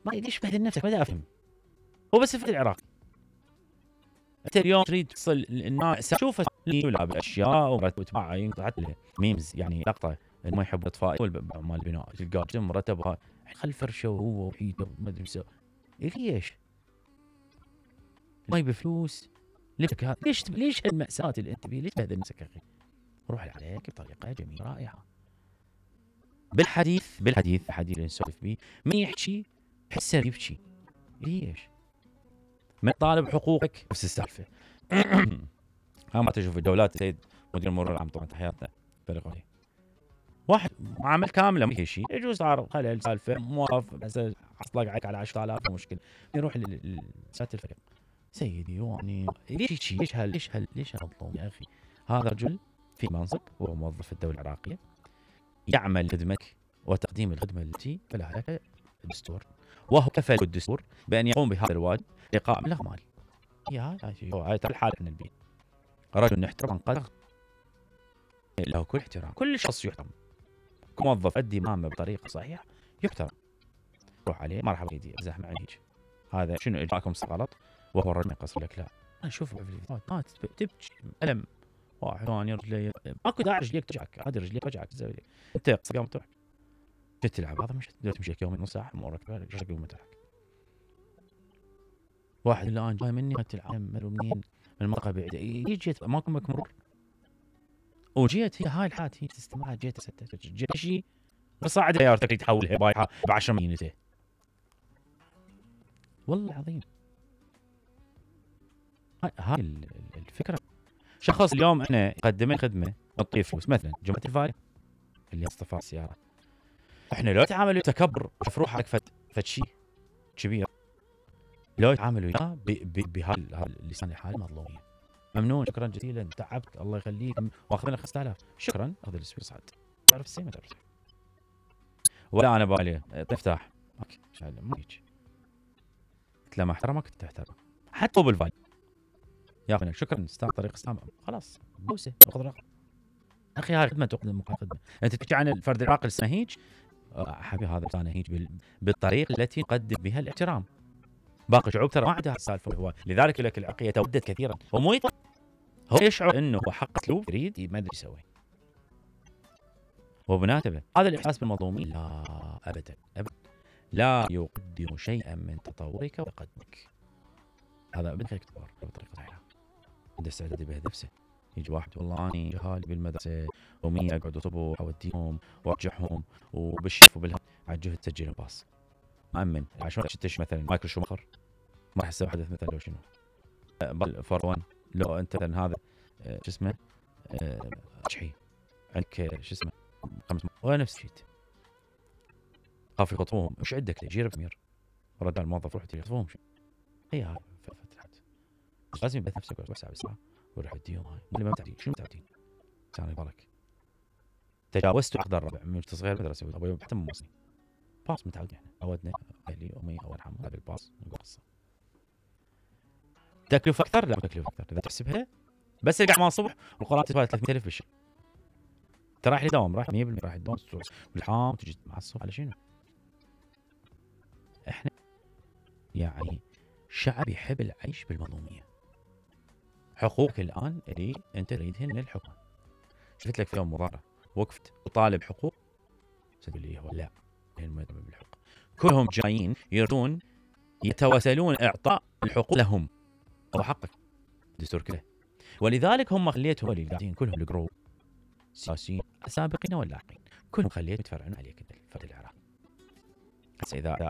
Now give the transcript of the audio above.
ما ليش تبهدل نفسك؟ ما افهم. هو بس الفرد العراقي. انت اليوم تريد تصل الناس شوف يلعب اشياء وتبع ينقطع ميمز يعني لقطه ما يحب الاطفاء مال البناء تلقاه مرتبها خل فرشه وهو وحيده ما ادري شو ليش؟ ما بفلوس لك ليش هالمأساة اللي انت بيه؟ ليش تبهدل نفسك يا اخي؟ روح عليك بطريقه جميله رائعه. بالحديث اللي نسولف بيه من يحكي حسه يبكي. ليش؟ من طالب حقوقك نفس السالفه. ما تشوف الدولات سيد مدير المرور العام طبعا تحياتنا فرق عليه واحد معامل كامله ما شيء يجوز صار خلل سالفه موظف بس حصلك عليك على 10000 مشكله يروح لسات الفريق سيدي يعني ليش هالظلم يا اخي؟ هذا رجل في منصب وهو موظف في الدوله العراقيه يعمل خدمتك وتقديم الخدمه التي فلها لك الدستور وهو كفل الدستور بان يقوم بهذا الواجب لقاء مبلغ مالي. هاي الحاله احنا البيت رجل نحترم قدر له كل احترام كل شخص يحترم كموظف ادي مهامه بطريقه صحيحه يحترم روح عليه مرحبا سيدي امزح معي هيك هذا شنو اجراكم غلط وهو الرجل يقصر لك لا انا اشوف ما تبكي الم واحد ثاني رجلي اكو داعي رجليك تجعك عادي رجليك وجعك انت قام تروح تلعب هذا مش تمشي يومين نص ساعه امورك بالك ايش تقوم تلعب واحد الان جاي مني تلعب منين من المنطقه بعيده يجي ماكو مرور وجيت هي هاي الحالة هي تستمع جيت جيت شيء بصعد سيارتك تحولها بايعها ب 10 مليون والله العظيم. هاي الفكره شخص اليوم احنا قدمنا خدمه نعطيه فلوس مثلا جمعيه الفاري اللي اصطفى السياره احنا لو تعاملوا تكبر شوف روحك فد شيء كبير لو تعاملوا وياه بهذا اللسان الحالي مظلومين ممنون شكرا جزيلا تعبت الله يخليك واخذنا 5000 شكرا اخذ الاسبوع صعد تعرف السيمه تعرف ولا انا بالي تفتح اوكي ما هيك قلت له ما احترمك تحترم حتى بالفاي يا اخي شكرا استاذ طريق اسلام خلاص بوسه اخذ رقم اخي هاي خدمه تقدم خدمه انت تحكي عن الفرد العاقل السنهيج حبيبي هذا سنهيج بالطريقه التي نقدم بها الاحترام باقي شعوب ترى ما عندها السالفه هو لذلك يقول لك العراقيه تودد كثيرا ومو هو يشعر انه هو حق اسلوب يريد ما ادري يسوي وبناتبه هذا الاحساس بالمظلومين لا ابدا لا يقدم شيئا من تطورك وتقدمك هذا ابدا خليك تطور بطريقه صحيحه عنده استعداد يبهدل نفسه يجي واحد والله اني جهال بالمدرسه ومي اقعد اطبخ اوديهم وارجعهم وبالشيف وبالهم على الجهد تسجل باص مأمن عشان تشتش مثلا مايكل شوماخر ما راح يسوي حدث مثلا لو شنو فورون لو انت مثلا هذا شو اسمه شحي عندك شو اسمه خمس ونفس الشيء خاف يخطفوهم وش عندك جير بمير رد على الموظف روح يخطفوهم هي هاي فتحت لازم يبث نفسك وسع بسرعه وروح اديهم هاي اللي ما متعودين شنو متعودين كان يبارك تجاوزت عقد الربع من صغير مدرسه ابوي حتى موصي باص متعود يعني عودنا اهلي امي الله يرحمه هذا الباص نقول قصه تكلفه اكثر لا تكلفه اكثر اذا تحسبها بس القعد مع الصبح والقران تدفع 300000 بالشهر ترى رايح لدوام رايح 100% رايح الدوام والحام تجي معصب على شنو؟ احنا يعني شعب يحب العيش بالمظلوميه حقوقك الان اللي انت تريدهن من الحكومه شفت لك في يوم مظاهره وقفت وطالب حقوق تقول لي هو لا المدعم بالحقوق كلهم جايين يردون يتوسلون اعطاء الحقوق لهم هو حقك الدستور كله ولذلك هم خليتهم اللي قاعدين كلهم الجروب سياسيين السابقين واللاحقين كلهم خليتهم يتفرعون عليك الفرد العراقي. اذا